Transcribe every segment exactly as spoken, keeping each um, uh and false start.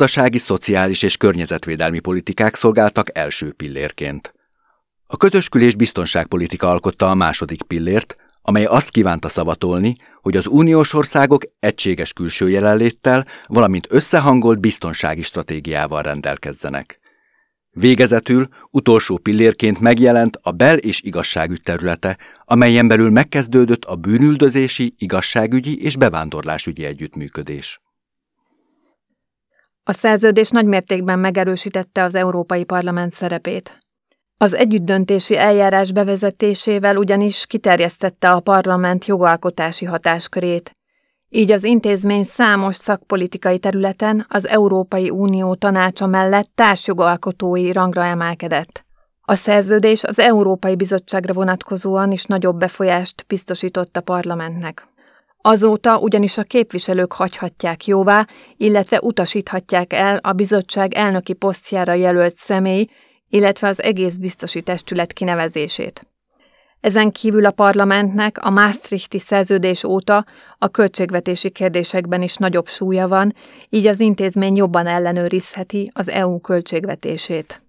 Gazdasági, szociális és környezetvédelmi politikák szolgáltak első pillérként. A közös kül- és biztonságpolitika alkotta a második pillért, amely azt kívánta szavatolni, hogy az uniós országok egységes külső jelenléttel, valamint összehangolt biztonsági stratégiával rendelkezzenek. Végezetül utolsó pillérként megjelent a bel- és igazságügy területe, amelyen belül megkezdődött a bűnüldözési, igazságügyi és bevándorlásügyi együttműködés. A szerződés nagymértékben megerősítette az Európai Parlament szerepét. Az együttdöntési eljárás bevezetésével ugyanis kiterjesztette a parlament jogalkotási hatáskörét. Így az intézmény számos szakpolitikai területen az Európai Unió Tanácsa mellett társjogalkotói rangra emelkedett. A szerződés az Európai Bizottságra vonatkozóan is nagyobb befolyást biztosított a parlamentnek. Azóta ugyanis a képviselők hagyhatják jóvá, illetve utasíthatják el a bizottság elnöki posztjára jelölt személy, illetve az egész biztosi testület kinevezését. Ezen kívül a parlamentnek a Maastrichti szerződés óta a költségvetési kérdésekben is nagyobb súlya van, így az intézmény jobban ellenőrizheti az é u költségvetését.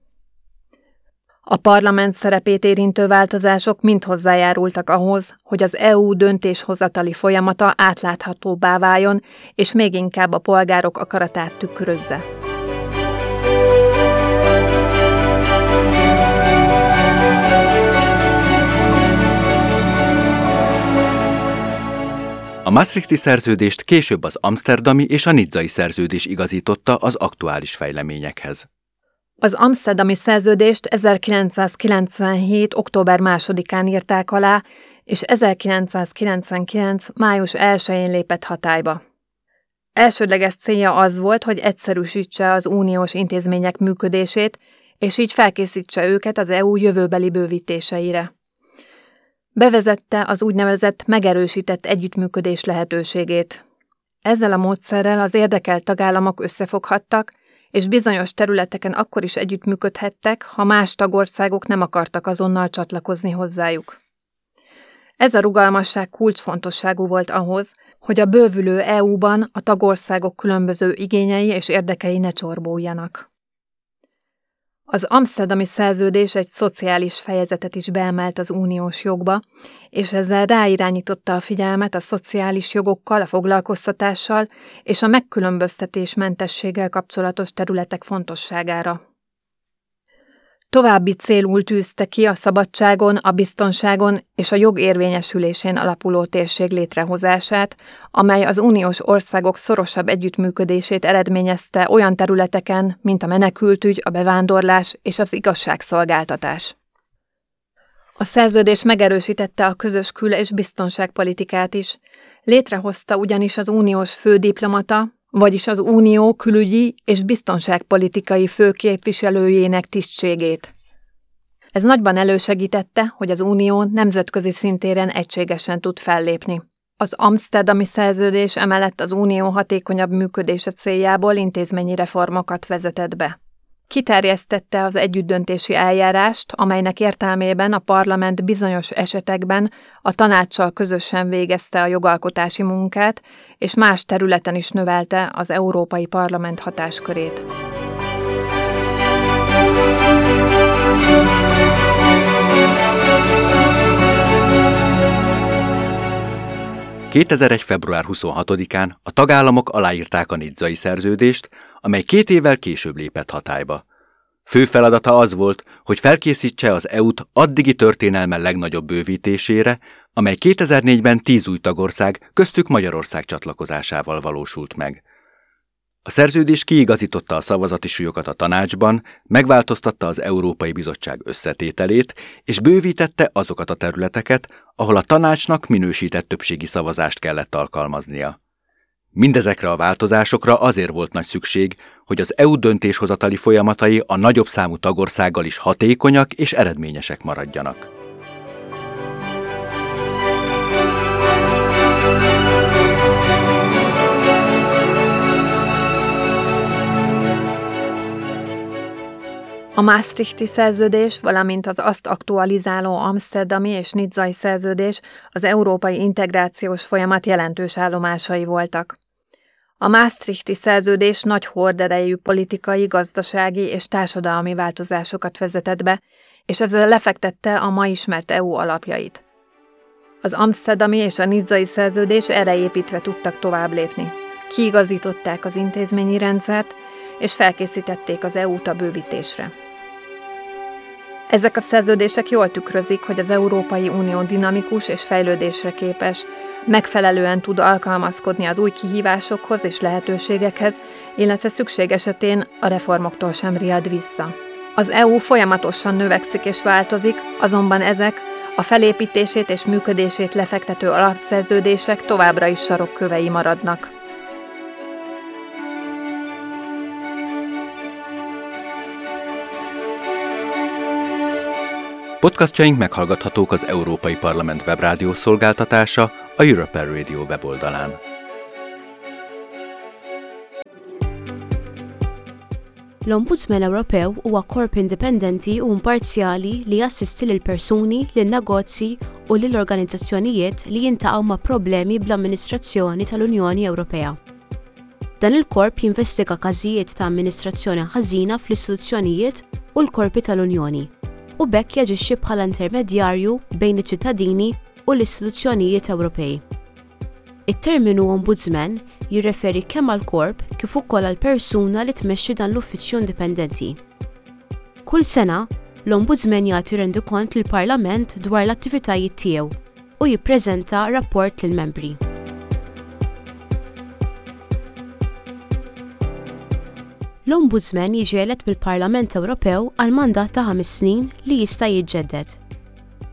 A parlament szerepét érintő változások mind hozzájárultak ahhoz, hogy az é u döntéshozatali folyamata átláthatóbbá váljon, és még inkább a polgárok akaratát tükrözze. A Maastrichti szerződést később az amszterdami és a nizzai szerződés igazította az aktuális fejleményekhez. Az amszterdami szerződést ezerkilencszázkilencvenhét. október másodikán írták alá, és ezerkilencszázkilencvenkilenc. május elsején lépett hatályba. Elsődleges célja az volt, hogy egyszerűsítse az uniós intézmények működését, és így felkészítse őket az é u jövőbeli bővítéseire. Bevezette az úgynevezett megerősített együttműködés lehetőségét. Ezzel a módszerrel az érdekelt tagállamok összefoghattak, és bizonyos területeken akkor is együttműködhettek, ha más tagországok nem akartak azonnal csatlakozni hozzájuk. Ez a rugalmasság kulcsfontosságú volt ahhoz, hogy a bővülő é u-ban a tagországok különböző igényei és érdekei ne csorbuljanak. Az amszterdami szerződés egy szociális fejezetet is beemelt az uniós jogba, és ezzel ráirányította a figyelmet a szociális jogokkal, a foglalkoztatással és a megkülönböztetésmentességgel kapcsolatos területek fontosságára. További célul tűzte ki a szabadságon, a biztonságon és a jog érvényesülésén alapuló térség létrehozását, amely az uniós országok szorosabb együttműködését eredményezte olyan területeken, mint a menekültügy, a bevándorlás és az igazságszolgáltatás. A szerződés megerősítette a közös kül- és biztonságpolitikát is. Létrehozta ugyanis az uniós fődiplomata, vagyis az unió külügyi és biztonságpolitikai főképviselőjének tisztségét. Ez nagyban elősegítette, hogy az unió nemzetközi szintéren egységesen tud fellépni. Az amszterdami szerződés emellett az unió hatékonyabb működése céljából intézményi reformokat vezetett be. Kiterjesztette az együttdöntési eljárást, amelynek értelmében a parlament bizonyos esetekben a tanáccsal közösen végezte a jogalkotási munkát, és más területen is növelte az Európai Parlament hatáskörét. kétezer-egy. február huszonhatodikán a tagállamok aláírták a nizzai szerződést, amely két évvel később lépett hatályba. Fő feladata az volt, hogy felkészítse az é u-t addigi történelme legnagyobb bővítésére, amely kétezer-négyben tíz új tagország, köztük Magyarország csatlakozásával valósult meg. A szerződés kiigazította a szavazati súlyokat a tanácsban, megváltoztatta az Európai Bizottság összetételét, és bővítette azokat a területeket, ahol a tanácsnak minősített többségi szavazást kellett alkalmaznia. Mindezekre a változásokra azért volt nagy szükség, hogy az é u döntéshozatali folyamatai a nagyobb számú tagországgal is hatékonyak és eredményesek maradjanak. A Maastrichti szerződés, valamint az azt aktualizáló amszterdami és nizzai szerződés az európai integrációs folyamat jelentős állomásai voltak. A Maastrichti szerződés nagy horderejű politikai, gazdasági és társadalmi változásokat vezetett be, és ezzel lefektette a ma ismert é u alapjait. Az amszterdami és a nizzai szerződés erre építve tudtak tovább lépni. Kiigazították az intézményi rendszert, és felkészítették az é u-t a bővítésre. Ezek a szerződések jól tükrözik, hogy az Európai Unió dinamikus és fejlődésre képes, megfelelően tud alkalmazkodni az új kihívásokhoz és lehetőségekhez, illetve szükség esetén a reformoktól sem riad vissza. Az é u folyamatosan növekszik és változik, azonban ezek a felépítését és működését lefektető alapszerződések továbbra is sarokkövei maradnak. Podcastjaink meghallgathatók az Európai Parlament webrádió szolgáltatása, a European Radio weboldalán. L-Ombudsman Ewropew huwa korp indipendenti u imparzjali li jassisti lil persuni, lin negozji u lil organizzazzjonijiet li jintaqgħu ma' problemi bl-amministrazzjoni tal-Unjoni Ewropea. Dan il-korp jinvestiga każijiet ta' amministrazzjoni ħażina fl-istituzzjonijiet u l-korpi tal-Unjoni u b'hekk jaġixxi bħala intermedjarju bejn iċ-ċittadini u l-istituzzjonijiet Ewropej. It-terminu ombudsman jirreferi kemm għall-korp kif ukoll għall-persuna li tmexxi dan l-uffiċċju indipendenti. Kull sena, l-ombudsman jagħti rendikont lill-Parlament dwar l-attivitajiet tiegħu u jippreżenta rapport lill-membri. L-Ombudsman jiġi elett mill-Parlament Ewropew għal mandat ta' ħames snin li jista' jiġġedded.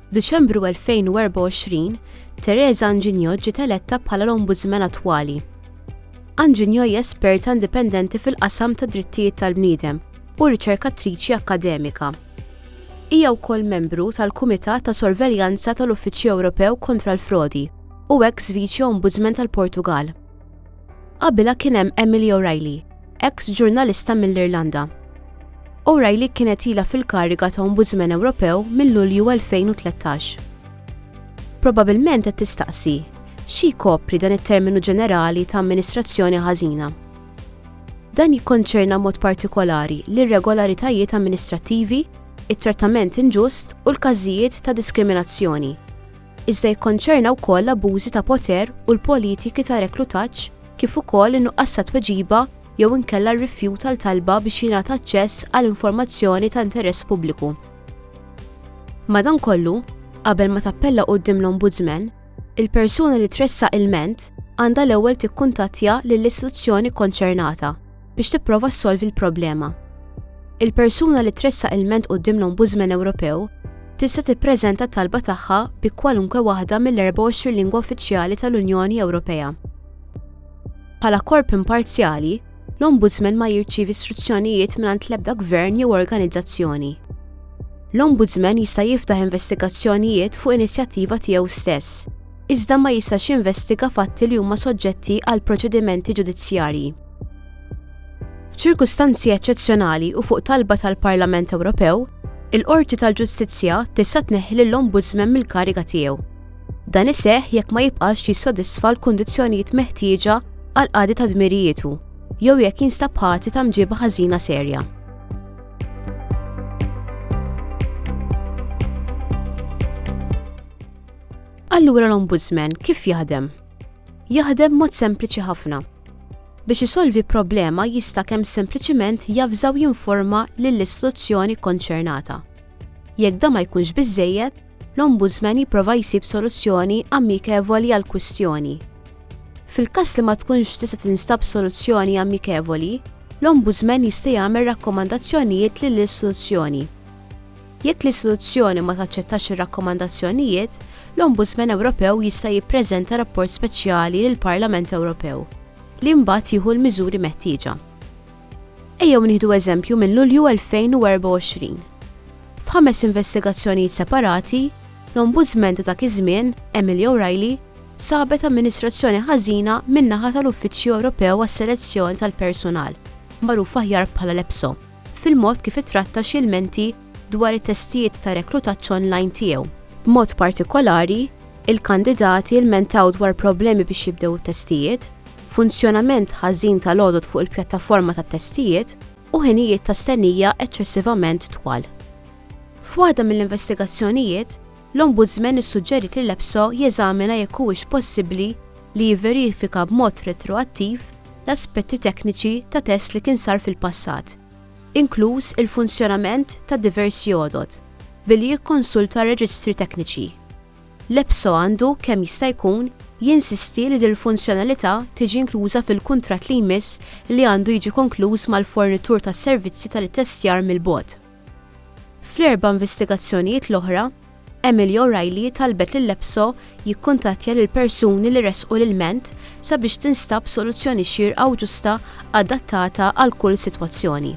F'Diċembru elfejn u erbgħa u għoxrin, Teresa Anginio ġiet eletta bħala l-Ombudsman attwali. Anginio hija esperta indipendenti fil-qasam ta' drittijiet tal-bniedem u riċerkatriċi akkademika. Hija wkoll membru tal-Kumitat ta' Sorveljanza tal-Uffiċċju Ewropew kontra l-Frodi u ex Viċi Ombudsman tal-Portugal. Qabilha kien hemm Emily O'Reilly, ex-ġurnalista mill-Irlanda. O'Reilly kienet ilha fil-kariga ta' Ombudsman Ewropew minn Lulju elfejn u tlettax. Probabilment qed tistaqsi, xi jkopri dan it-terminu ġenerali ta' amministrazzjoni ħażina? Dan jikkonċerna mod partikolari l-irregolaritajiet amministrattivi, it-trattament inġust u l-każijiet ta' diskriminazzjoni. Iżda jikkonċerna wkoll l-abbużi ta' poter u l-politiki ta' reklutaġġ kif ukoll in-nuqqas ta' tweġiba jew inkella r-rifjut għal talba biex jingħata aċċess għal informazzjoni ta' interess pubbliku. Madankollu, qabel ma tappella quddiem l-Ombudsman, il-persuna li tressaq ilment għandha l-ewwel tikkuntattja lill-istituzzjoni konċernata biex tipprova ssolvi l-problema. Il-persuna li tressaq ilment quddiem l-Ombudsman Ewropew tista' tippreżenta t-talba tagħha bi kwalunkwe waħda mill-erbgħa u għoxrin lingwa uffiċjali tal-Unjoni Ewropea. Bħala korp imparzjali, l-Ombudsman ma jirċievi istruzzjonijiet mingħand l-ebda gvern jew organizzazzjoni. L-Ombudsman jista' jiftaħ investigazzjonijiet fuq inizjattiva tiegħu stess, iżda ma jistax jinvestiga fatti li huma soġġetti għal proċedimenti ġudizzjarji. F'ċirkustanzi eċċezzjonali u fuq talba tal-Parlament Ewropew, il-Qorti tal-Ġustizzja tista' tneħħi lill-Ombudsman mill-kariga tiegħu. Dan iseħħ jekk ma jibqax jissodisfa l-kundizzjonijiet meħtieġa għal qadi ta' dmirijietu, jew jekk jinstab ħati ta' mġiba ħażina serja. Allura l-Ombudsman kif jaħdem? Jaħdem mod sempliċi ħafna. Biex isolvi problema jista' kemm sempliċiment javża u jinforma lill-istituzzjoni konċernata. Jekk dan ma jkunx biżżejjed, l-Ombudsman jipprova jsib soluzzjoni amikevoli għall-kwistjoni. Fil-każ li ma tkunx tista' tinstab soluzzjoni amikevoli, l-Ombudsman jista' jagħmel rakkomandazzjonijiet lill-istituzzjoni. Jekk l-istituzzjoni ma taċċettax ir-rakkomandazzjonijiet, l-Ombudsman Ewropew jista' jippreżenta rapport speċjali lill-Parlament Ewropew, li mbagħad jieħu l-miżuri meħtieġa. Ejjew nieħdu eżempju minn Lulju elfejn u erbgħa u għoxrin. F'ħames investigazzjonijiet separati, l-Ombudsman ta' dak iż-żmien, Emily O'Reilly, sabet amministrazzjoni ħażina min-naħa tal-Uffiċċju Ewropew għas-Selezzjoni tal-Personal, magħruf aħjar bħala l-E P S O, fil-mod kif ittratta xi ilmenti dwar it-testijiet ta' reklutaġġ online tiegħu. B'mod partikolari, il-kandidati ilmentaw dwar problemi biex jibdew it-testijiet, funzjonament ħażin tal-għodod fuq il-pjattaforma tat-testijiet u ħinijiet ta' stennija eċċessivament twal. F'waħda mill-investigazzjonijiet, l-Ombudsman issuġġeriet li l-EPSO jeżamina jekk huwiex possibbli li jivverifika b'mod retroattiv l-aspetti tekniċi ta' test li kien sar fil-passat, inkluż il-funzjonament ta' diversi għodod, billi jikkonsulta reġistri tekniċi. L-EPSO għandu kemm jista' jkun jinsisti li din il-funzjonalità tiġi inkluża fil-kuntratt li jmiss li għandu jiġi konkluż mal-fornitur tas-servizzi tal-ittestjar mill-bogħod. Fl-erba' investigazzjonijiet l-oħra, Emily O'Reilly talbet lill-EPSO jikkuntattja lil persuni li ressqu l-ilment sabiex tinstab soluzzjoni xierqa u ġusta adattata għal kull sitwazzjoni.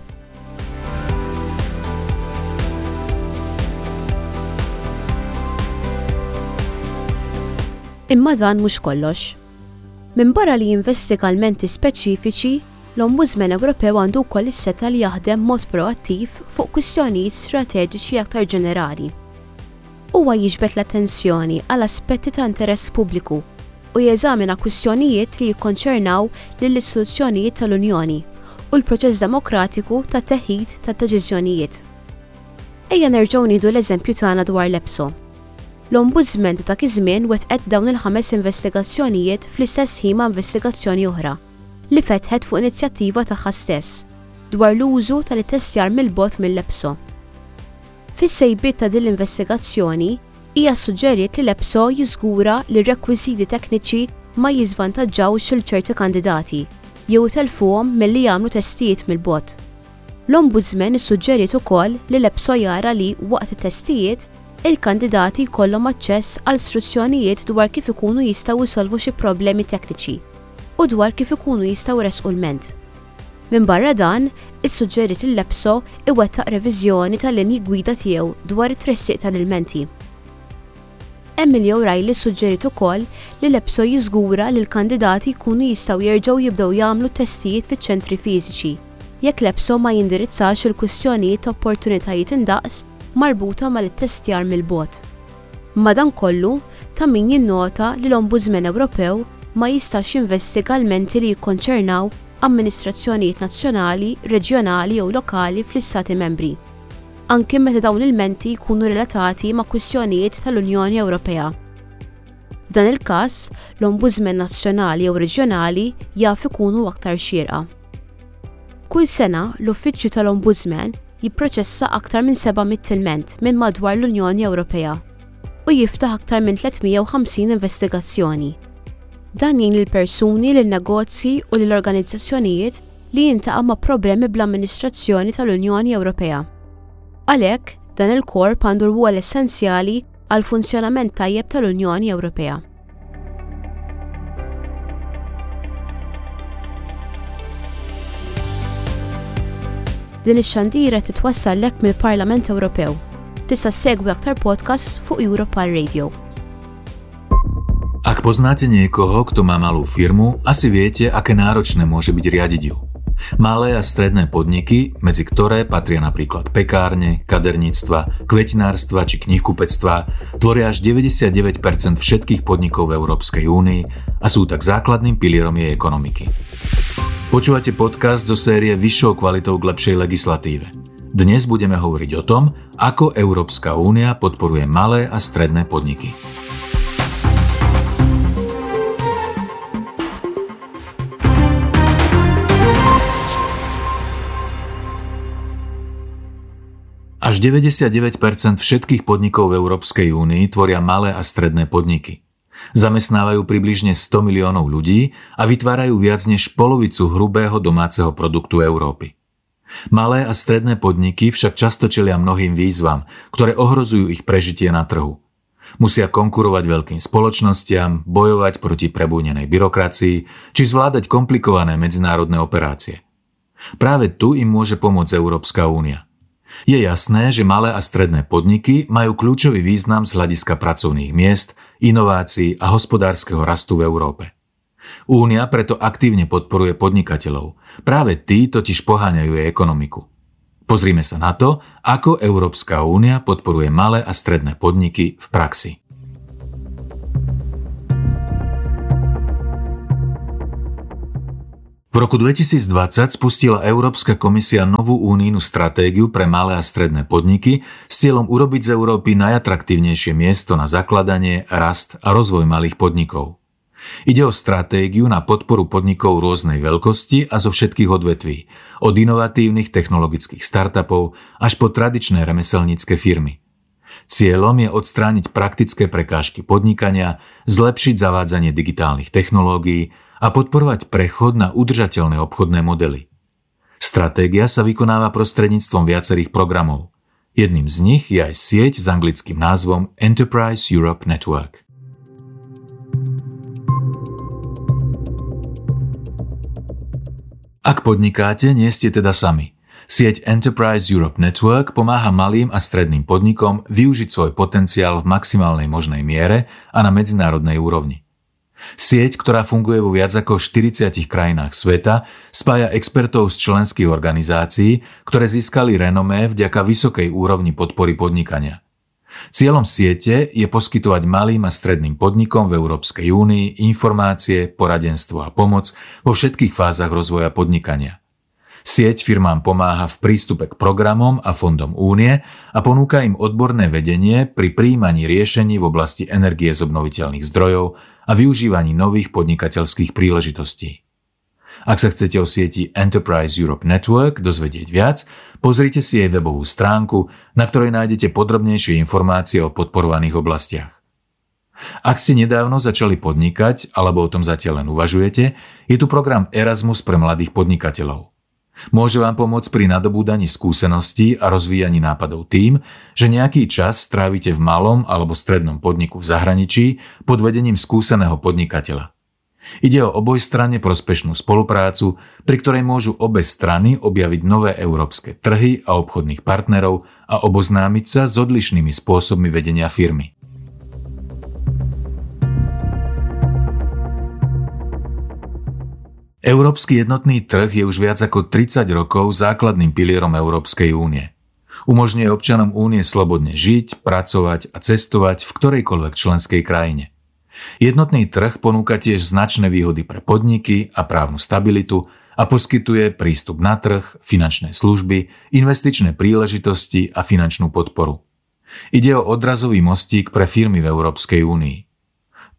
Imma dan mhux kollox. Minbarra li jinvestiga lmenti speċifiċi, l-Ombudsman Ewropew għandu wkoll is-setgħa li jaħdem mod proattiv fuq kwistjonijiet strateġiċi aktar ġenerali. Huwa jiġbed l-attenzjoni għal aspetti ta' interess pubbliku u jeżamina kwistjonijiet li jikkonċernaw lill-istituzzjonijiet tal-Unjoni u l-proċess demokratiku ta' teħid ta' deċiżjonijiet. Ejja nerġgħu nieħdu l-eżempju tagħna dwar l-EPSO. L-Ombudsman ta' dak iż-żmien wettqet dawn il-ħames investigazzjonijiet fl-istess ħin ma' investigazzjoni oħra li fetħet fuq inizjattiva tagħha stess dwar l-użu tal-ittestjar mill-bogħod mill-EPSO. Fis-sejbiet ta' din l-investigazzjoni, hija ssuġġeriet li l-EPSO jiżgura li r-rekwiżiti tekniċi ma jiżvantaġġawx lil ċerti kandidati jew itellfuhom milli jagħmlu testijiet mill-bogħod. L-Ombudsman issuġġeriet ukoll li l-EPSO jara li waqt it-testijiet il-kandidati jkollhom aċċess għal struzzjonijiet dwar kif ikunu jistgħu jsolvu xi problemi tekniċi u dwar kif ikunu jistgħu jressqu lment. Minbarra dan, issuġġeriet li l-EPSO iwettaq reviżjoni tal-linji gwida tiegħu dwar it-tressiq tal-ilmenti. Emily O'Reilly suġġeriet ukoll li l-EPSO jiżgura li l-kandidati jkunu jistgħu jerġgħu jibdew jagħmlu testijiet fiċ-ċentri fiżiċi jekk l-EPSO ma jindirizzax il-kwistjonijiet ta' opportunitajiet indaqs marbuta mal-ittestjar mill-bogħod. Madankollu, ta' min jinnota li l-Ombudsman Ewropew ma jistax jinvestiga lmenti li jikkonċernaw amministrazzjonijiet nazzjonali, reġjonali jew lokali fl-istati membri, anki meta dawn il-menti jkunu relatati ma' kwistjonijiet tal-Unjoni Ewropea. F'dan il-każ, l-Ombudsman nazzjonali jew reġjonali jaf ikunu aktar xierqa. Kull sena, l-Uffiċċju tal-Ombudsman jipproċessa aktar minn seba' mitt ilment minn madwar l-Unjoni Ewropea u jiftaħ aktar minn tliet mija u ħamsin investigazzjoni. Dan jgħin lill-persuni, lin-negozji u lill-organizzazzjonijiet li jintaqgħu ma' problemi bl-amministrazzjoni tal-Unjoni Ewropea. Għalhekk, dan il-korp għandu rwol essenzjali għal funzjonament tajjeb tal-Unjoni Ewropea. Din ix-xandira titwassallek mill-Parlament Ewropew. Tista' ssegwi aktar podcasts fuq Europarl Radio. Ak poznáte niekoho, kto má malú firmu, asi viete, aké náročné môže byť riadiť ju. Malé a stredné podniky, medzi ktoré patria napríklad pekárne, kaderníctva, kvetinárstva či knihkupectvá, tvoria až deväťdesiatdeväť percent všetkých podnikov v Európskej únii a sú tak základným pilierom jej ekonomiky. Počúvate podcast zo série Vyššou kvalitou k lepšej legislatíve. Dnes budeme hovoriť o tom, ako Európska únia podporuje malé a stredné podniky. Až deväťdesiatdeväť percent všetkých podnikov v Európskej únii tvoria malé a stredné podniky. Zamestnávajú približne sto miliónov ľudí a vytvárajú viac než polovicu hrubého domáceho produktu Európy. Malé a stredné podniky však často čelia mnohým výzvam, ktoré ohrozujú ich prežitie na trhu. Musia konkurovať veľkým spoločnostiam, bojovať proti prebujnenej byrokracii či zvládať komplikované medzinárodné operácie. Práve tu im môže pomôcť Európska únia. Je jasné, že malé a stredné podniky majú kľúčový význam z hľadiska pracovných miest, inovácií a hospodárskeho rastu v Európe. Únia preto aktívne podporuje podnikateľov. Práve tí totiž poháňajú jej ekonomiku. Pozrime sa na to, ako Európska únia podporuje malé a stredné podniky v praxi. V roku dvetisícdvadsať spustila Európska komisia novú únijnú stratégiu pre malé a stredné podniky s cieľom urobiť z Európy najatraktívnejšie miesto na zakladanie, rast a rozvoj malých podnikov. Ide o stratégiu na podporu podnikov rôznej veľkosti a zo všetkých odvetví, od inovatívnych technologických startupov až po tradičné remeselnícke firmy. Cieľom je odstrániť praktické prekážky podnikania, zlepšiť zavádzanie digitálnych technológií a podporovať prechod na udržateľné obchodné modely. Stratégia sa vykonáva prostredníctvom viacerých programov. Jedným z nich je aj sieť s anglickým názvom Enterprise Europe Network. Ak podnikáte, nie ste teda sami. Sieť Enterprise Europe Network pomáha malým a stredným podnikom využiť svoj potenciál v maximálnej možnej miere a na medzinárodnej úrovni. Sieť, ktorá funguje vo viac ako štyridsiatich krajinách sveta, spája expertov z členských organizácií, ktoré získali renomé vďaka vysokej úrovni podpory podnikania. Cieľom siete je poskytovať malým a stredným podnikom v Európskej únii informácie, poradenstvo a pomoc vo všetkých fázach rozvoja podnikania. Sieť firmám pomáha v prístupe k programom a fondom únie a ponúka im odborné vedenie pri prijímaní riešení v oblasti energie z obnoviteľných zdrojov a využívaní nových podnikateľských príležitostí. Ak sa chcete o sieti Enterprise Europe Network dozvedieť viac, pozrite si jej webovú stránku, na ktorej nájdete podrobnejšie informácie o podporovaných oblastiach. Ak ste nedávno začali podnikať alebo o tom zatiaľ len uvažujete, je tu program Erasmus pre mladých podnikateľov. Môže vám pomôcť pri nadobúdaní skúseností a rozvíjaní nápadov tým, že nejaký čas strávite v malom alebo strednom podniku v zahraničí pod vedením skúseného podnikateľa. Ide o obojstranne prospešnú spoluprácu, pri ktorej môžu obe strany objaviť nové európske trhy a obchodných partnerov a oboznámiť sa s odlišnými spôsobmi vedenia firmy. Európsky jednotný trh je už viac ako tridsať rokov základným pilierom Európskej únie. Umožňuje občanom únie slobodne žiť, pracovať a cestovať v ktorejkoľvek členskej krajine. Jednotný trh ponúka tiež značné výhody pre podniky a právnu stabilitu a poskytuje prístup na trh, finančné služby, investičné príležitosti a finančnú podporu. Ide o odrazový mostík pre firmy v Európskej únii.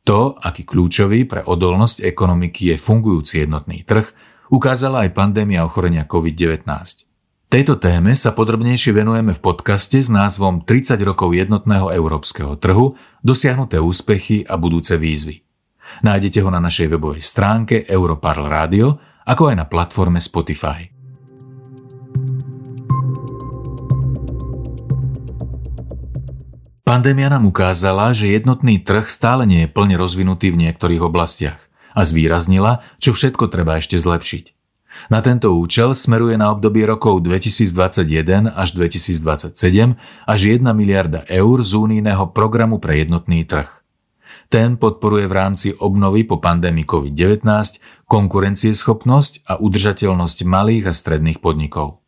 To, aký kľúčový pre odolnosť ekonomiky je fungujúci jednotný trh, ukázala aj pandémia ochorenia covid devätnásť. Tejto téme sa podrobnejšie venujeme v podcaste s názvom tridsať rokov jednotného európskeho trhu, dosiahnuté úspechy a budúce výzvy. Nájdete ho na našej webovej stránke Europarl Radio, ako aj na platforme Spotify. Pandémia nám ukázala, že jednotný trh stále nie je plne rozvinutý v niektorých oblastiach a zvýraznila, čo všetko treba ešte zlepšiť. Na tento účel smeruje na obdobie rokov dvetisícdvadsaťjeden až dvetisícdvadsaťsedem až jedna miliarda eur z únijného programu pre jednotný trh. Ten podporuje v rámci obnovy po pandémii covid devätnásť konkurencieschopnosť a udržateľnosť malých a stredných podnikov.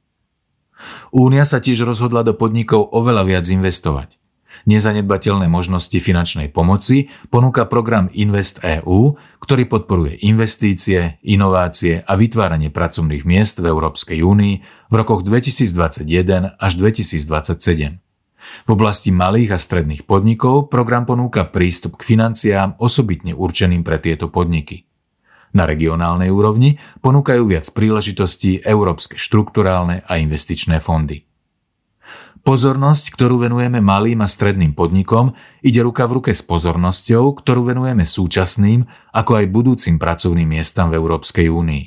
Únia sa tiež rozhodla do podnikov oveľa viac investovať. Nezanedbateľné možnosti finančnej pomoci ponúka program Invest E U, ktorý podporuje investície, inovácie a vytváranie pracovných miest v Európskej únii v rokoch dvetisícdvadsaťjeden až dvetisícdvadsaťsedem. V oblasti malých a stredných podnikov program ponúka prístup k financiám osobitne určeným pre tieto podniky. Na regionálnej úrovni ponúkajú viac príležitostí európske štrukturálne a investičné fondy. Pozornosť, ktorú venujeme malým a stredným podnikom, ide ruka v ruke s pozornosťou, ktorú venujeme súčasným, ako aj budúcim pracovným miestam v Európskej únii.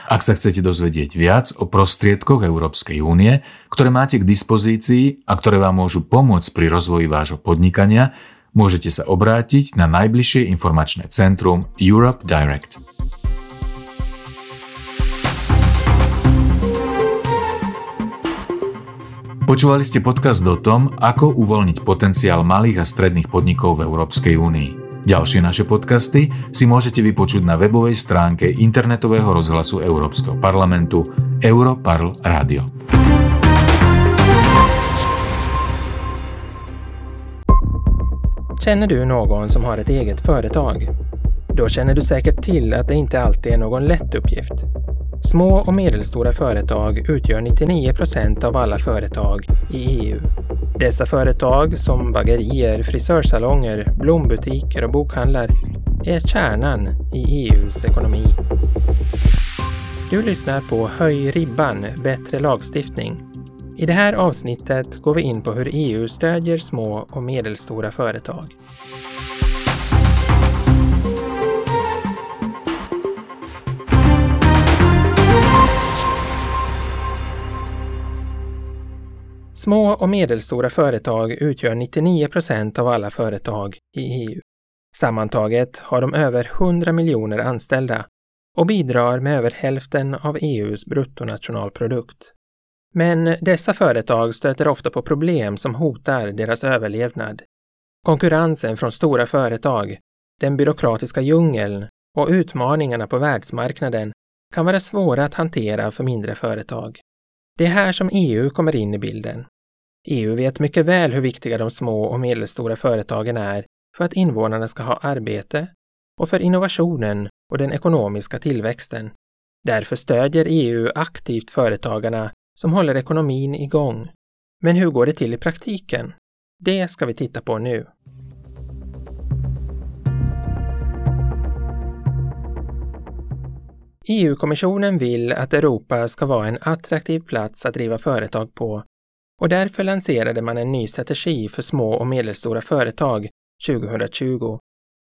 Ak sa chcete dozvedieť viac o prostriedkoch Európskej únie, ktoré máte k dispozícii a ktoré vám môžu pomôcť pri rozvoji vášho podnikania, môžete sa obrátiť na najbližšie informačné centrum Europe Direct. Počúvali ste podcast o tom, ako uvoľniť potenciál malých a stredných podnikov v Európskej únii. Ďalšie naše podcasty si môžete vypočuť na webovej stránke internetového rozhlasu Európskeho parlamentu Europarl Radio. Känner du någon som har ett eget företag? Då känner du säkert till att det inte alltid är någon lätt uppgift. Små och medelstora företag utgör nittionio procent av alla företag i E U. Dessa företag, som bagerier, frisörsalonger, blombutiker och bokhandlar, är kärnan i E U:s ekonomi. Du lyssnar på Höj ribban, bättre lagstiftning. I det här avsnittet går vi in på hur E U stödjer små och medelstora företag. Små och medelstora företag utgör nittionio procent av alla företag i E U. Sammantaget har de över hundra miljoner anställda och bidrar med över hälften av E U:s bruttonationalprodukt. Men dessa företag stöter ofta på problem som hotar deras överlevnad. Konkurrensen från stora företag, den byråkratiska djungeln och utmaningarna på världsmarknaden kan vara svåra att hantera för mindre företag. Det är här som E U kommer in i bilden. E U vet mycket väl hur viktiga de små och medelstora företagen är för att invånarna ska ha arbete och för innovationen och den ekonomiska tillväxten. Därför stödjer E U aktivt företagarna som håller ekonomin igång. Men hur går det till i praktiken? Det ska vi titta på nu. E U-kommissionen vill att Europa ska vara en attraktiv plats att driva företag på och därför lanserade man en ny strategi för små och medelstora företag tjugohundratjugo.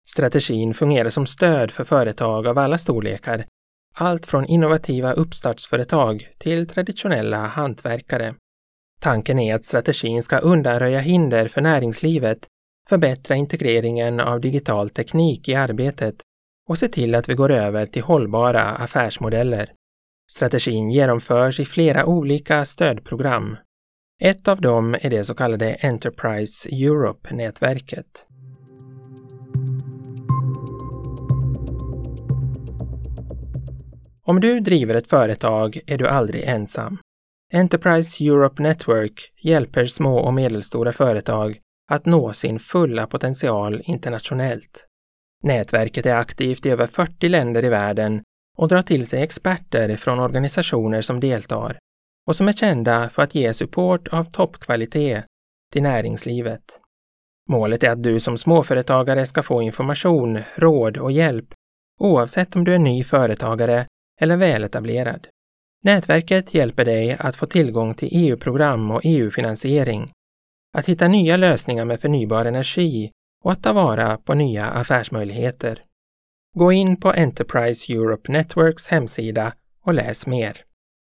Strategin fungerar som stöd för företag av alla storlekar, allt från innovativa uppstartsföretag till traditionella hantverkare. Tanken är att strategin ska undanröja hinder för näringslivet, förbättra integreringen av digital teknik i arbetet och se till att vi går över till hållbara affärsmodeller. Strategin genomförs i flera olika stödprogram. Ett av dem är det så kallade Enterprise Europe-nätverket. Om du driver ett företag är du aldrig ensam. Enterprise Europe Network hjälper små och medelstora företag att nå sin fulla potential internationellt. Nätverket är aktivt i över fyrtio länder i världen och drar till sig experter från organisationer som deltar och som är kända för att ge support av toppkvalitet till näringslivet. Målet är att du som småföretagare ska få information, råd och hjälp oavsett om du är ny företagare eller väletablerad. Nätverket hjälper dig att få tillgång till E U-program och E U-finansiering, att hitta nya lösningar med förnybar energi och att ta vara på nya affärsmöjligheter. Gå in på Enterprise Europe Networks hemsida och läs mer.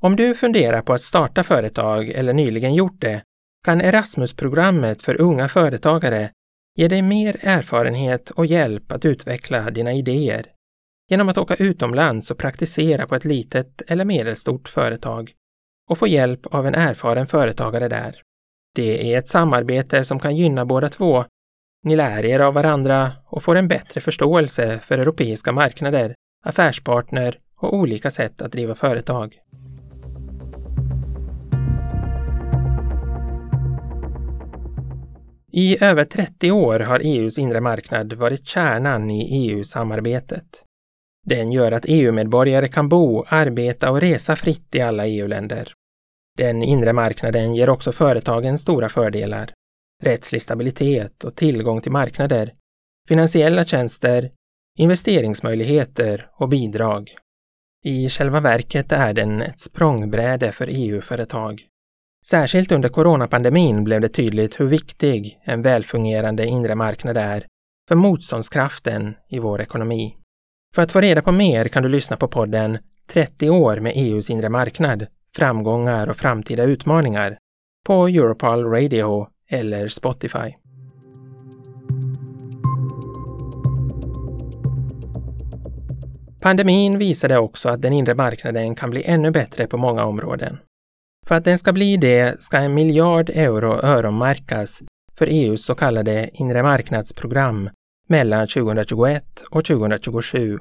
Om du funderar på att starta företag eller nyligen gjort det, kan Erasmus-programmet för unga företagare ge dig mer erfarenhet och hjälp att utveckla dina idéer genom att åka utomlands och praktisera på ett litet eller medelstort företag och få hjälp av en erfaren företagare där. Det är ett samarbete som kan gynna båda två. Ni lär er av varandra och får en bättre förståelse för europeiska marknader, affärspartner och olika sätt att driva företag. I över trettio år har E U:s inre marknad varit kärnan i E U-samarbetet. Den gör att E U-medborgare kan bo, arbeta och resa fritt i alla E U-länder. Den inre marknaden ger också företagen stora fördelar. Rättslig stabilitet och tillgång till marknader, finansiella tjänster, investeringsmöjligheter och bidrag. I själva verket är den ett språngbräde för E U-företag. Särskilt under coronapandemin blev det tydligt hur viktig en välfungerande inre marknad är för motståndskraften i vår ekonomi. För att få reda på mer kan du lyssna på podden trettio år med E U:s inre marknad, framgångar och framtida utmaningar på Europarl Radio eller Spotify. Pandemin visade också att den inre marknaden kan bli ännu bättre på många områden. För att den ska bli det ska en miljard euro öronmärkas för E U:s så kallade inre marknadsprogram mellan tjugohundratjugoett och tjugohundratjugosju.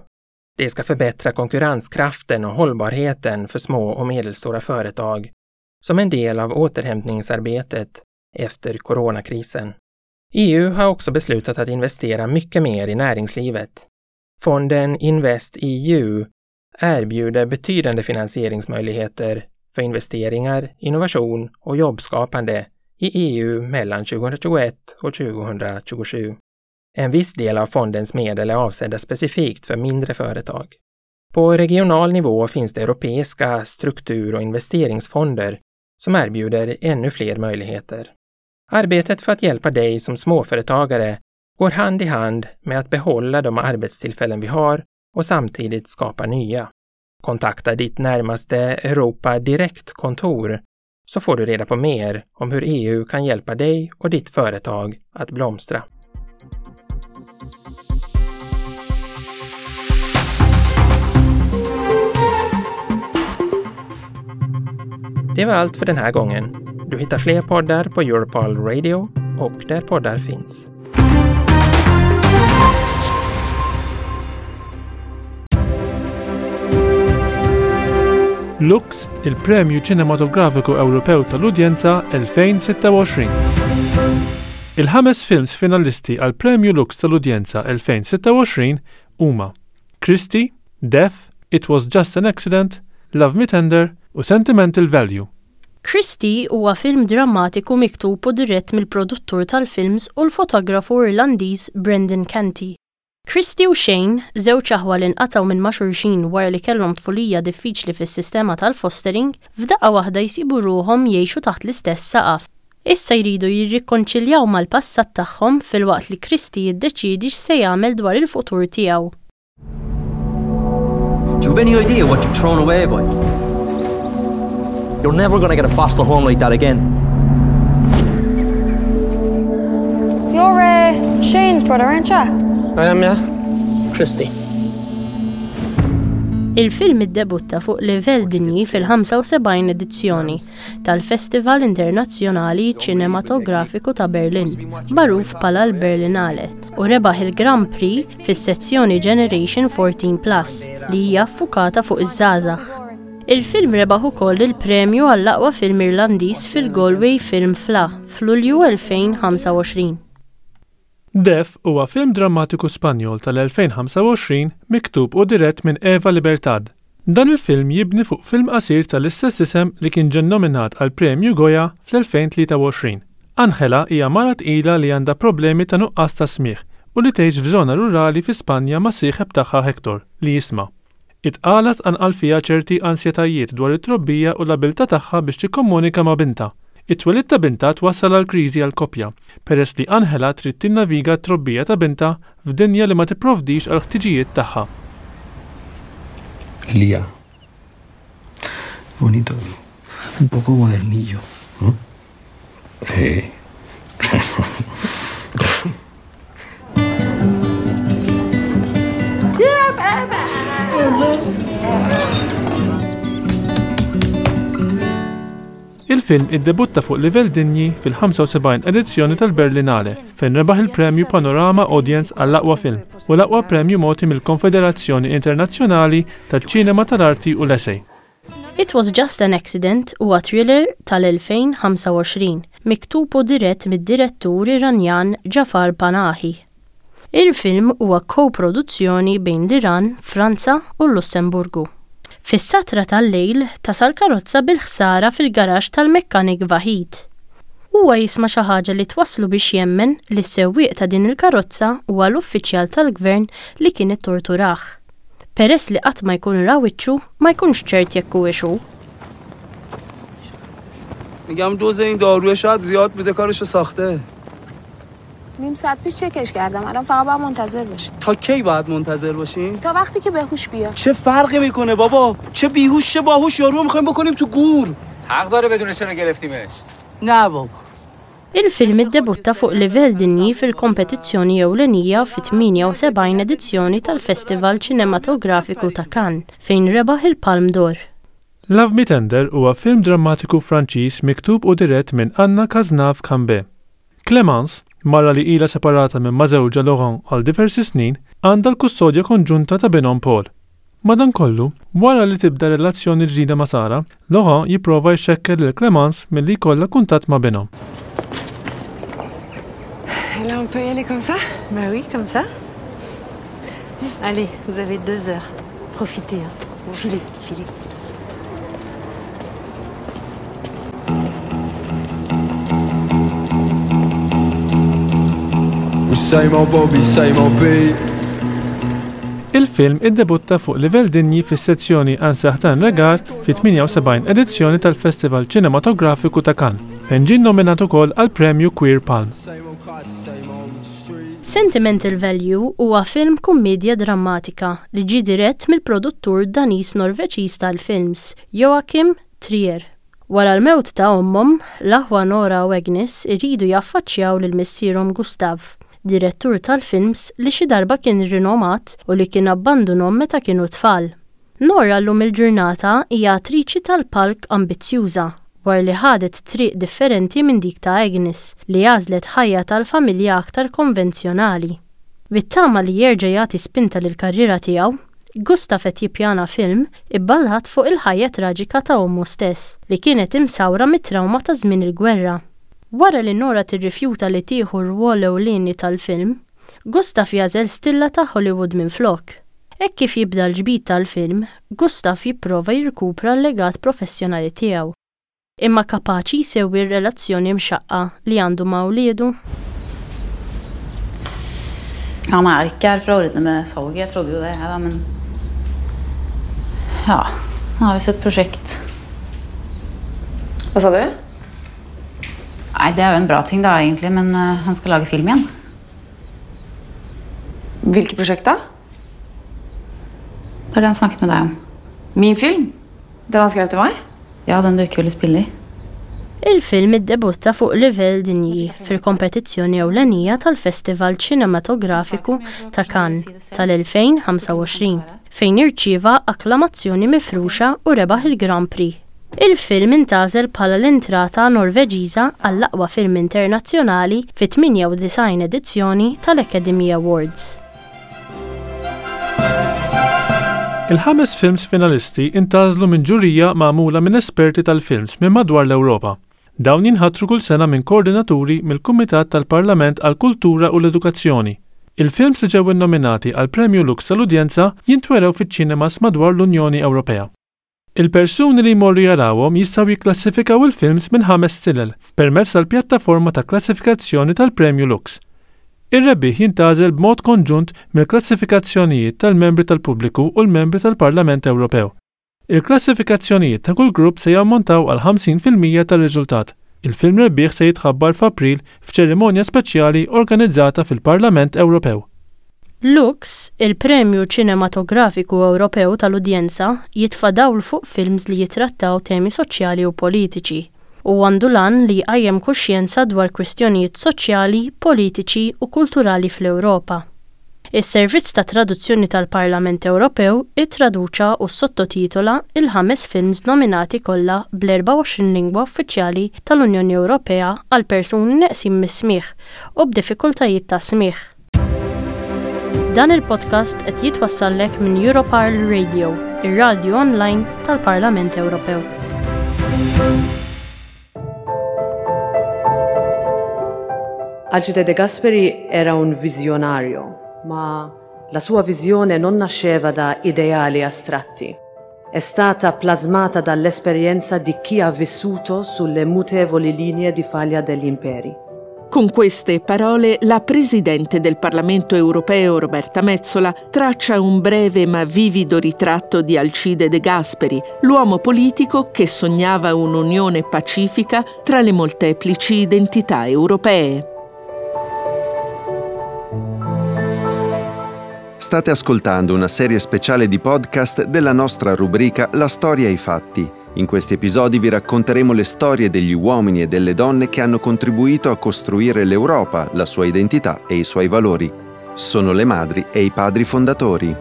Det ska förbättra konkurrenskraften och hållbarheten för små och medelstora företag som en del av återhämtningsarbetet efter coronakrisen. E U har också beslutat att investera mycket mer i näringslivet. Fonden Invest E U erbjuder betydande finansieringsmöjligheter för investeringar, innovation och jobbskapande i E U mellan tjugohundratjugoett och tjugohundratjugosju. En viss del av fondens medel är avsedda specifikt för mindre företag. På regional nivå finns det europeiska struktur- och investeringsfonder som erbjuder ännu fler möjligheter. Arbetet för att hjälpa dig som småföretagare går hand i hand med att behålla de arbetstillfällen vi har och samtidigt skapa nya. Kontakta ditt närmaste Europa Direkt-kontor så får du reda på mer om hur E U kan hjälpa dig och ditt företag att blomstra. Det var allt för den här gången. Du hittar fler poddar på Europol Radio och där poddar finns. Lux, il-Premju Ċinematografiku Ewropew tal-Udjenza elfejn u sitta u għoxrin. Il-ħames films finalisti għal Premju Lux tal-Udjenza elfejn u sitta u għoxrin huma Christy, Death, It Was Just an Accident, Love Me Tender u Sentimental Value. Christy huwa film drammatiku miktub u dirett mill-produttur tal-films u l-fotografu Irlandiż Brendan Canty. Christy u Shane, żewġ aħwa li nqatgħu minn ma' xulxin wara li kellhom tfulija diffiċli fis-sistema tal-fostering, f'daqqa waħda jsibu ruħhom jgħixu taħt l-istess saqaf. Issa jridu jirrikonċiljaw mal-passat tagħhom filwaqt li Christy jiddeċiedi x'se jagħmel dwar il-futur tiegħu. Do you have any idea what you've thrown away, boy? You're never gonna get a foster home like that again. You're uh, Shane's brother, aren't you? I am, yeah. Christy. Il-film iddebutta fuq livell dinji fil-ħamsa u sebgħin edizzjoni tal-Festival Internazzjonali Ċinematografiku ta' Berlin, magħruf bħala l-Berlinale, u rebaħ il-Grand Prix fis-sezzjoni Generation fourteen Plus li hija ffukata fuq iż-żgħażagħ. Il-film rebaħ ukoll il-premju għall-aqwa film Irlandiż fil-Galway Film Fleadh f'Lulju elfejn u ħamsa u għoxrin. Death huwa film drammatiku Spanjol tal-elfejn u ħamsa u għoxrin miktub u dirett minn Eva Libertad. Dan il-film jibni fuq film qasir tal-istess isem li kien ġie nominat għal Premju Goya fl-elfejn u tlieta u għoxrin. Angela hija mara tqila li għandha problemi ta' nuqqas ta' smigħ u li tgħix f'żona rurali fi Spanja ma' sieħeb tagħha Hector li jisma'. It-tqala tqanqal fiha ċerti ansjetajiet dwar it-trobbija u l-abilità tagħha biex tikkomunika ma' bintha. It-twelid ta' bintha twassal għal kriżi għal koppja, peress li Angela trid tinnaviga t-trobbija ta' bintha f'dinja li ma tipprovdix għal ħtiġijiet tagħha. Lía. Bonito. Un poco modernillo, ¿no? Sí. Il-film iddebutta fuq livell dinji fil-ħamsa u sebgħin edizzjoni tal-Berlinale fejn rebaħ il-Premju Panorama Audience għall-aqwa film u l-aqwa premju mogħti mill-Konfederazzjoni Internazzjonali tal-Ċinema tal-Arti u l-Essay. It Was Just an Accident huwa thriller tal-elfejn u ħamsa u għoxrin miktub u dirett mid-direttur Iranjan Jafar Panahi. Il-film huwa ko-produzzjoni bejn l-Iran, Franza u l-Lussemburgu. Fis-satra tal-lejl tasal karozza bil-ħsara fil-garaxx tal-mekkanik Vahid. Huwa jisma' xi ħaġa li twasslu biex jemmen li s-sewwieq ta' din il-karozza huwa l-uffiċjal tal-gvern li kien ittorturah. Peress li qatt ma jkun ra wiċċu, ma jkunx ċert jekk huwiex hu. میگم دوز این داروی شاید زیاد بوده، کارشو ساخته. نیم ساعت پیش چکش کردم. الان فقط باید منتظر باشیم. تا کی باید منتظر باشیم؟ تا وقتی که به هوش بیاد. چه فرقی میکنه بابا، چه بیهوش چه باهوش، یارو میخوایم بکنیم تو گور. حق داره بدونه چرا گرفتیمش. نه بابا. Il-film iddebutta fuq livell dinji fil-kompetizzjoni ewlenija fit-tmienja u sebgħin edizzjoni tal-Festival Ċinematografiku ta' Cannes fejn rebaħ il-Palme d'Or. Love Me Tender huwa film drammatiku Franċiż miktub u dirett minn Anna Cazenave Cambet. Clemence, mara li ila separata minn ma' żewġha Laurent għal diversi snin, għandha l-kustodja konġunta ta' binhom Paul. Madankollu, wara li tibda relazzjoni ġdida ma' Sara, Laurent jipprova jxekkel lil Clemence milli jkollha kuntatt ma' binhom. Là, on peut y aller comme ça? Bah oui, comme ça. Allez, vous avez deux heures. Profitez, hein. Filez, filez. Same old Bobby, same old beat. Il-film iddebutta fuq livell dinji fis-sezzjoni Un Certain Regard fit-tmienja u sebgħin edizzjoni tal-Festival Ċinematografiku ta' Cannes, fejn ġie nominat ukoll għal Premju Queer Palm. Sentimental Value huwa film kummedja drammatika li ġie dirett mill-produttur Daniż Norveġiż tal-films Joachim Trier. Wara l-mewt ta' ommhom, l-aħwa Nora u Agnes iridu jaffaċċjaw lil missierhom Gustav, direttur tal-films li xi darba kien rinomat u li kien abbandunhom meta kienu tfal. Nora llum il-ġurnata hija attriċi tal-palk ambizzjuża, wara li ħadet triq differenti minn dik ta' Agnes li għażlet ħajja tal-familja aktar konvenzjonali. Bit-tama li jerġa' jagħti spinta lill-karriera tiegħu, Gustav qed jippjana film ibbażat fuq il-ħajja traġika ta' ommu stess li kienet imsawra mit-trawma ta' żmien il-gwerra. Wara li Nora tirrifjuta li tieħu r-rwol ewlieni tal-film, Gustav jagħżel stilla ta' Hollywood minflok. Hekk kif jibda l-ġbid tal-film, Gustav jipprova jirkupra l-legat professjonali tiegħu. Imma kapaċi jsewwi r-relazzjoni mxaqqa li għandu ma' wliedu? Han er ikke her for å ordne med salget, jeg trodde jo det, jeg da, men ja, nå har vi sett prosjekt. Hva sa du? Nei, det er jo en bra ting da, egentlig, men uh, han skal lage film igjen. Hvilket prosjekt da? Det er det han snakket med deg om. Min film? Den han skrev til meg? Ja, den du ikke ville spille i. Il-film iddebutta fuq livell dinji fil-kompetizzjoni ewlenija tal-Festival Ċinematografiku ta' Cannes tal-elfejn ħamsa u għoxrin, fejn irċieva akklamazzjoni mifruxa u rebaħ il-Grand Prix. Il-film intgħażel bħala l-entrata Norveġiża għall-aqwa film internazzjonali fit-tmienja u disgħin edizzjoni tal-Academy Awards. Il-ħames films finalisti intgħażlu minn ġurija magħmula minn esperti tal-films minn madwar l-Ewropa. Dawn jinħatru kull sena minn koordinaturi mill-Kumitat tal-Parlament għall-Kultura u l-Edukazzjoni. Il-films li ġew innominati għal Premju Lux tal-Udjenza jintwerew fiċ-ċinemas madwar l-Unjoni Ewropea. Il-persuni li jmorru jarawhom jistgħu jikklassifikaw il-films minn ħames stilel permezz tal-pjattaforma ta' klassifikazzjoni tal-Premju Lux. Ir-rebbieħ jintgħażel b'mod konġunt mill-klassifikazzjonijiet tal-membri tal-pubbliku u l-membri tal-Parlament Ewropew. Il-klassifikazzjonijiet ta' kull grupp se jammontaw għal ħamsin fil-mija tar-riżultat. Il-film rebbieħ se jitħabbar f'April f'ċerimonja speċjali organizzata fil-Parlament Ewropew. Lux, il-Premju Ċinematografiku Ewropew tal-Udjenza, jitfa' dawl fuq films li jitrattaw temi soċjali u politiċi u għandu l-għan li jqajjem kuxjenza dwar kwistjonijiet soċjali, politiċi u kulturali fl-Ewropa. Is-servizz ta' traduzzjoni tal-Parlament Ewropew ittraduċa u sottotitola il-ħames films nominati kollha bl-erbgħa u għoxrin lingwa uffiċjali tal-Unjoni Ewropea għal persuni neqsin mis-smigħ u b'diffikultajiet ta' smigħ. Dan il-podcast qed jitwassallek minn Europarl Radio, ir-radio online tal-Parlament Ewropew. Alcide De Gasperi era un visionario, ma la sua visione non nasceva da ideali astratti. È stata plasmata dall'esperienza di chi ha vissuto sulle mutevoli linee di faglia degli imperi. Con queste parole la Presidente del Parlamento europeo Roberta Metsola traccia un breve ma vivido ritratto di Alcide De Gasperi, l'uomo politico che sognava un'unione pacifica tra le molteplici identità europee. State ascoltando una serie speciale di podcast della nostra rubrica La storia e i fatti. In questi episodi vi racconteremo le storie degli uomini e delle donne che hanno contribuito a costruire l'Europa, la sua identità e i suoi valori. Sono le madri e i padri fondatori.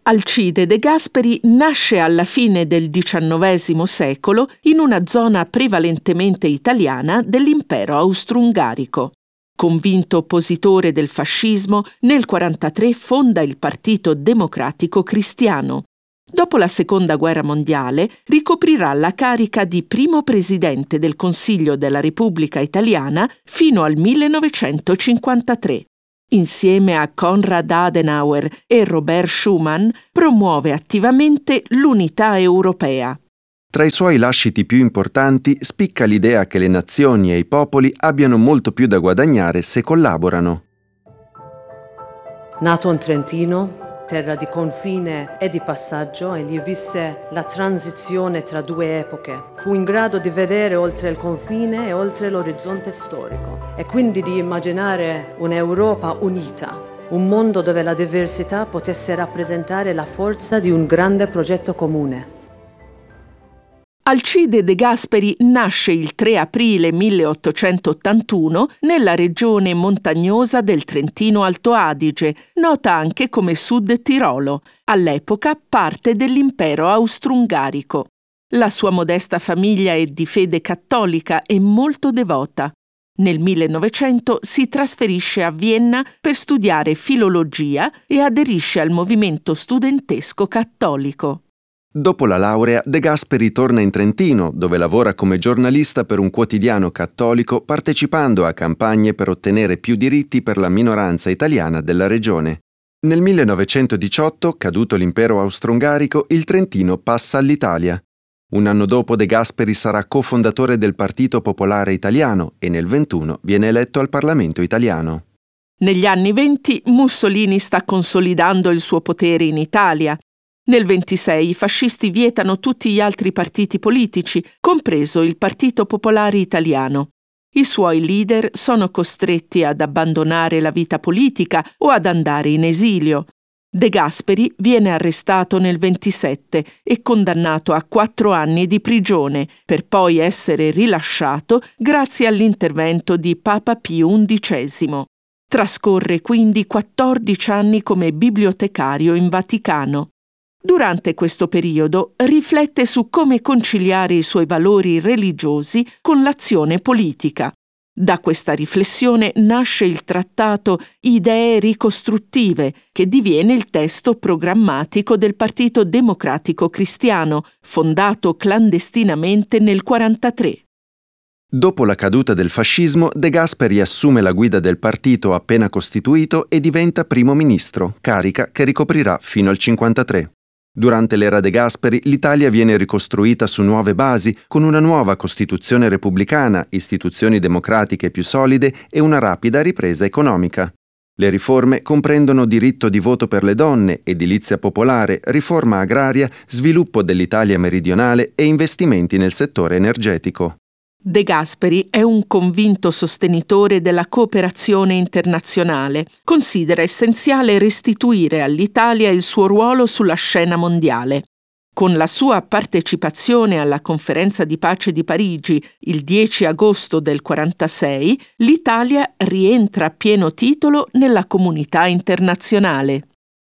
Alcide De Gasperi nasce alla fine del diciannovesimo secolo in una zona prevalentemente italiana dell'impero austro-ungarico. Convinto oppositore del fascismo, nel quarantatré fonda il Partito Democratico Cristiano. Dopo la Seconda Guerra Mondiale ricoprirà la carica di primo presidente del Consiglio della Repubblica Italiana fino al millenovecentocinquantatré. Insieme a Konrad Adenauer e Robert Schuman promuove attivamente l'unità europea. Tra i suoi lasciti più importanti spicca l'idea che le nazioni e i popoli abbiano molto più da guadagnare se collaborano. Nato in Trentino, terra di confine e di passaggio, egli visse la transizione tra due epoche. Fu in grado di vedere oltre il confine e oltre l'orizzonte storico e quindi di immaginare un'Europa unita, un mondo dove la diversità potesse rappresentare la forza di un grande progetto comune. Alcide De Gasperi nasce il tre aprile milleottocentottantuno nella regione montagnosa del Trentino Alto Adige, nota anche come Sud Tirolo, all'epoca parte dell'impero austro-ungarico. La sua modesta famiglia è di fede cattolica e molto devota. Nel millenovecento si trasferisce a Vienna per studiare filologia e aderisce al movimento studentesco cattolico. Dopo la laurea, De Gasperi torna in Trentino, dove lavora come giornalista per un quotidiano cattolico, partecipando a campagne per ottenere più diritti per la minoranza italiana della regione. Nel millenovecentodiciotto, caduto l'impero austro-ungarico, il Trentino passa all'Italia. Un anno dopo De Gasperi sarà cofondatore del Partito Popolare Italiano e nel ventuno viene eletto al Parlamento italiano. Negli anni venti Mussolini sta consolidando il suo potere in Italia. Nel ventisei i fascisti vietano tutti gli altri partiti politici, compreso il Partito Popolare Italiano. I suoi leader sono costretti ad abbandonare la vita politica o ad andare in esilio. De Gasperi viene arrestato nel ventisette e condannato a quattro anni di prigione, per poi essere rilasciato grazie all'intervento di Papa Pio undicesimo. Trascorre quindi quattordici anni come bibliotecario in Vaticano. Durante questo periodo riflette su come conciliare i suoi valori religiosi con l'azione politica. Da questa riflessione nasce il trattato Idee ricostruttive, che diviene il testo programmatico del Partito Democratico Cristiano, fondato clandestinamente nel quarantatré. Dopo la caduta del fascismo, De Gasperi assume la guida del partito appena costituito e diventa primo ministro, carica che ricoprirà fino al cinquantatré. Durante l'era De Gasperi, l'Italia viene ricostruita su nuove basi, con una nuova Costituzione repubblicana, istituzioni democratiche più solide e una rapida ripresa economica. Le riforme comprendono diritto di voto per le donne, edilizia popolare, riforma agraria, sviluppo dell'Italia meridionale e investimenti nel settore energetico. De Gasperi è un convinto sostenitore della cooperazione internazionale. Considera essenziale restituire all'Italia il suo ruolo sulla scena mondiale. Con la sua partecipazione alla Conferenza di pace di Parigi il dieci agosto del quarantasei, l'Italia rientra a pieno titolo nella comunità internazionale.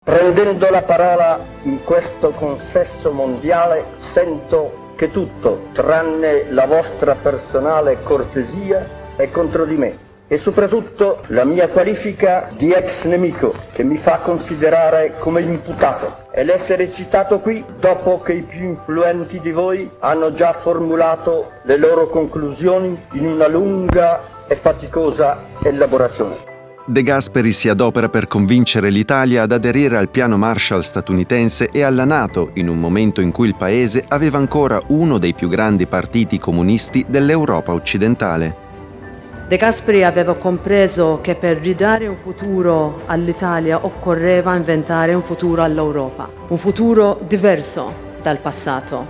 Prendendo la parola in questo consesso mondiale, sento che tutto, tranne la vostra personale cortesia, è contro di me e soprattutto la mia qualifica di ex nemico, che mi fa considerare come imputato, e l'essere citato qui dopo che i più influenti di voi hanno già formulato le loro conclusioni in una lunga e faticosa elaborazione. De Gasperi si adopera per convincere l'Italia ad aderire al piano Marshall statunitense e alla NATO in un momento in cui il paese aveva ancora uno dei più grandi partiti comunisti dell'Europa occidentale. De Gasperi aveva compreso che per ridare un futuro all'Italia occorreva inventare un futuro all'Europa, un futuro diverso dal passato.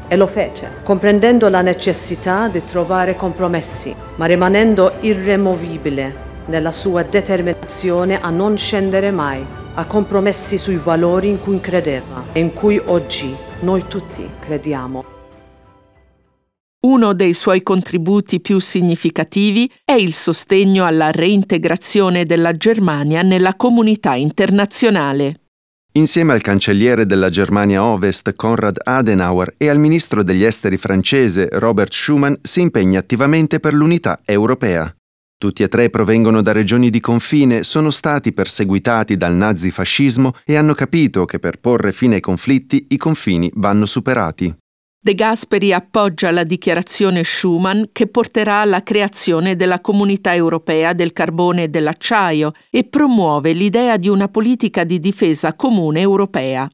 E lo fece, comprendendo la necessità di trovare compromessi, ma rimanendo irremovibile nella sua determinazione a non scendere mai a compromessi sui valori in cui credeva e in cui oggi noi tutti crediamo. Uno dei suoi contributi più significativi è il sostegno alla reintegrazione della Germania nella comunità internazionale. Insieme al cancelliere della Germania Ovest Konrad Adenauer e al ministro degli esteri francese Robert Schuman si impegna attivamente per l'unità europea. Tutti e tre provengono da regioni di confine, sono stati perseguitati dal nazifascismo e hanno capito che per porre fine ai conflitti i confini vanno superati. De Gasperi appoggia la dichiarazione Schuman che porterà alla creazione della Comunità Europea del Carbone e dell'Acciaio e promuove l'idea di una politica di difesa comune europea.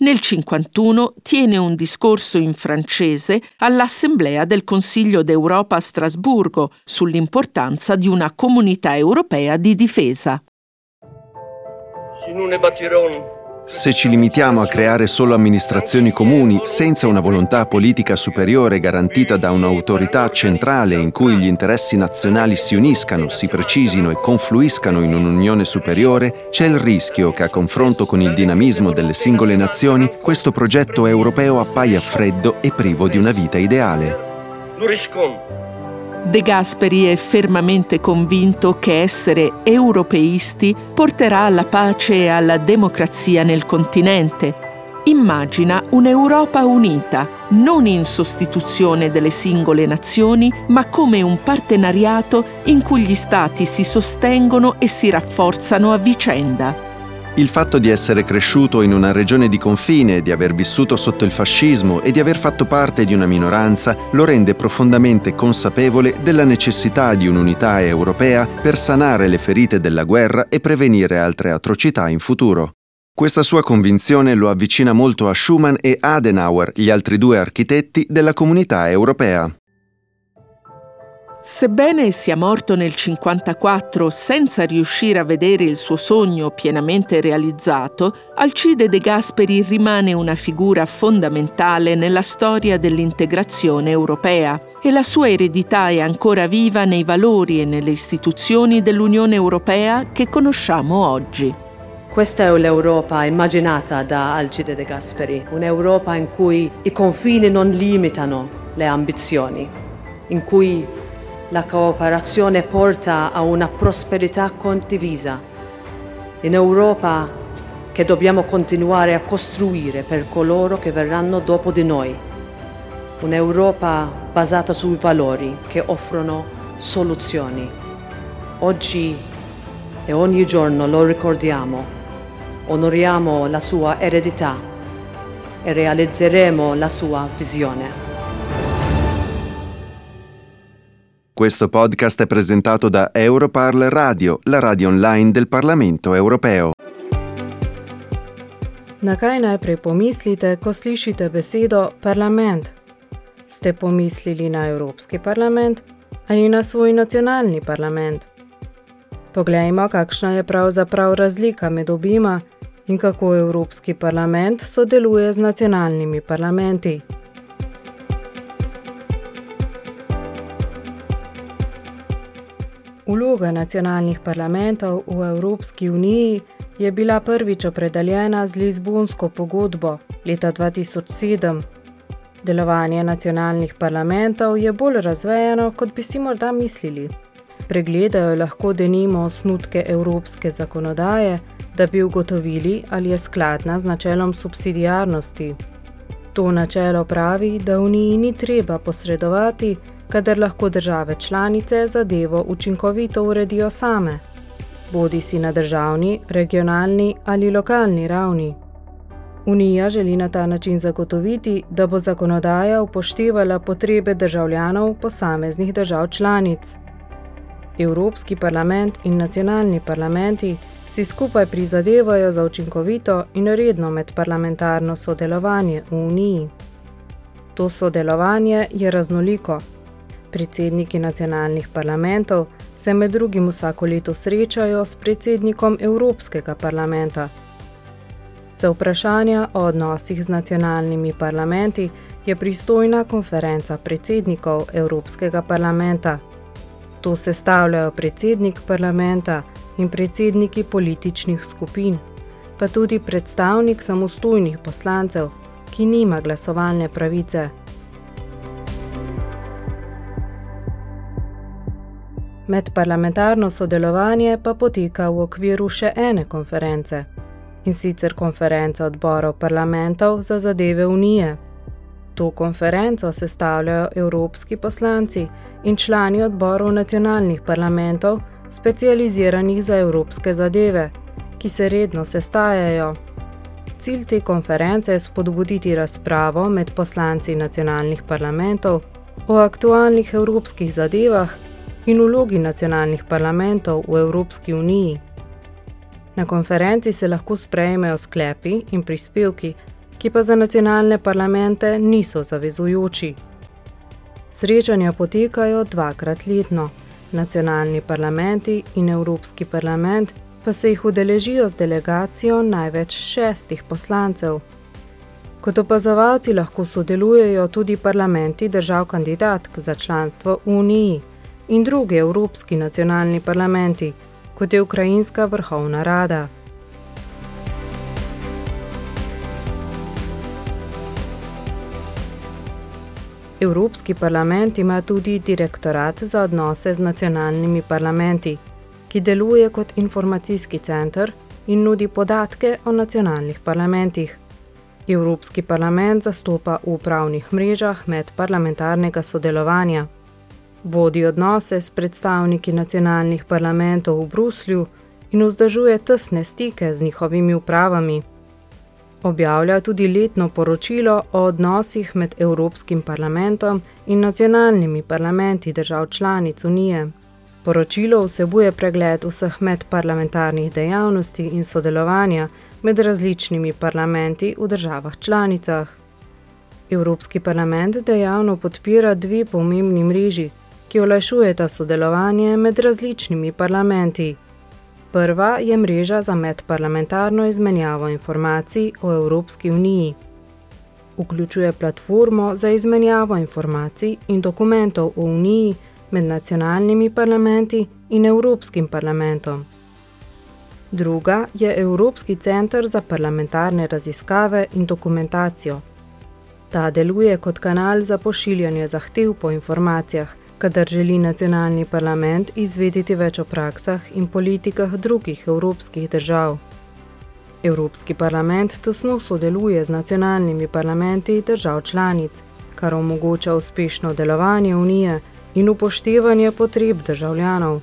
Nel cinquantuno tiene un discorso in francese all'Assemblea del Consiglio d'Europa a Strasburgo sull'importanza di una comunità europea di difesa. Se ci limitiamo a creare solo amministrazioni comuni senza una volontà politica superiore garantita da un'autorità centrale in cui gli interessi nazionali si uniscano, si precisino e confluiscano in un'unione superiore, c'è il rischio che a confronto con il dinamismo delle singole nazioni questo progetto europeo appaia freddo e privo di una vita ideale. De Gasperi è fermamente convinto che essere europeisti porterà alla pace e alla democrazia nel continente. Immagina un'Europa unita, non in sostituzione delle singole nazioni, ma come un partenariato in cui gli stati si sostengono e si rafforzano a vicenda. Il fatto di essere cresciuto in una regione di confine, di aver vissuto sotto il fascismo e di aver fatto parte di una minoranza lo rende profondamente consapevole della necessità di un'unità europea per sanare le ferite della guerra e prevenire altre atrocità in futuro. Questa sua convinzione lo avvicina molto a Schuman e Adenauer, gli altri due architetti della comunità europea. Sebbene sia morto nel cinquantaquattro senza riuscire a vedere il suo sogno pienamente realizzato, Alcide De Gasperi rimane una figura fondamentale nella storia dell'integrazione europea e la sua eredità è ancora viva nei valori e nelle istituzioni dell'Unione Europea che conosciamo oggi. Questa è l'Europa immaginata da Alcide De Gasperi, un'Europa in cui i confini non limitano le ambizioni, in cui la cooperazione porta a una prosperità condivisa. In Europa che dobbiamo continuare a costruire per coloro che verranno dopo di noi. Un'Europa basata sui valori che offrono soluzioni. Oggi e ogni giorno lo ricordiamo, onoriamo la sua eredità e realizzeremo la sua visione. Questo podcast è presentato da Europarl Radio, la radio online del Parlamento europeo. Na kaj najprej pomislite, ko slišite besedo parlament? Ste pomislili na Evropski parlament ali na svoj nacionalni parlament? Poglejmo, kakšna je pravzaprav razlika med obima in kako Evropski parlament sodeluje z nacionalnimi parlamenti. Vloga nacionalnih parlamentov v Evropski uniji je bila prvič opredeljena z Lizbonsko pogodbo leta dva tisoč sedem. Delovanje nacionalnih parlamentov je bolj razvejano, kot bi si morda mislili. Pregledajo lahko denimo osnutke evropske zakonodaje, da bi ugotovili, ali je skladna z načelom subsidiarnosti. To načelo pravi, da uniji ni treba posredovati, kadar lahko države članice zadevo učinkovito uredijo same, bodisi na državni, regionalni ali lokalni ravni. Unija želi na ta način zagotoviti, da bo zakonodaja upoštevala potrebe državljanov posameznih držav članic. Evropski parlament in nacionalni parlamenti si skupaj prizadevajo za učinkovito in redno medparlamentarno sodelovanje v Uniji. To sodelovanje je raznoliko. Predsedniki nacionalnih parlamentov se med drugim vsako leto srečajo s predsednikom Evropskega parlamenta. Za vprašanja o odnosih z nacionalnimi parlamenti je pristojna konferenca predsednikov Evropskega parlamenta. To sestavljajo predsednik parlamenta in predsedniki političnih skupin, pa tudi predstavnik samostojnih poslancev, ki nima glasovalne pravice. Medparlamentarno sodelovanje pa poteka v okviru še ene konference, in sicer konference odborov parlamentov za zadeve Unije. To konferenco sestavljajo evropski poslanci in člani odborov nacionalnih parlamentov, specializiranih za evropske zadeve, ki se redno sestajajo. Cilj te konference je spodbuditi razpravo med poslanci nacionalnih parlamentov o aktualnih evropskih zadevah in vlogi nacionalnih parlamentov v Evropski uniji. Na konferenci se lahko sprejmejo sklepi in prispevki, ki pa za nacionalne parlamente niso zavezujoči. Srečanja potekajo dvakrat letno, nacionalni parlamenti in Evropski parlament pa se jih udeležijo z delegacijo največ šestih poslancev. Kot opazovalci lahko sodelujejo tudi parlamenti držav kandidatk za članstvo v Uniji in drugi evropski nacionalni parlamenti, kot je Ukrajinska vrhovna rada. Evropski parlament ima tudi Direktorat za odnose z nacionalnimi parlamenti, ki deluje kot informacijski center in nudi podatke o nacionalnih parlamentih. Evropski parlament zastopa v upravnih mrežah medparlamentarnega sodelovanja. Vodi odnose s predstavniki nacionalnih parlamentov v Bruslju in vzdržuje tesne stike z njihovimi upravami. Objavlja tudi letno poročilo o odnosih med Evropskim parlamentom in nacionalnimi parlamenti držav članic Unije. Poročilo vsebuje pregled vseh medparlamentarnih dejavnosti in sodelovanja med različnimi parlamenti v državah članicah. Evropski parlament dejavno podpira dve pomembni mreži, ki olajšujeta sodelovanje med različnimi parlamenti. Prva je mreža za medparlamentarno izmenjavo informacij o Evropski uniji. Vključuje platformo za izmenjavo informacij in dokumentov o Uniji med nacionalnimi parlamenti in Evropskim parlamentom. Druga je Evropski center za parlamentarne raziskave in dokumentacijo. Ta deluje kot kanal za pošiljanje zahtev po informacijah, kadar želi nacionalni parlament izvedeti več o praksah in politikah drugih evropskih držav. Evropski parlament tesno sodeluje z nacionalnimi parlamenti držav članic, kar omogoča uspešno delovanje Unije in upoštevanje potreb državljanov.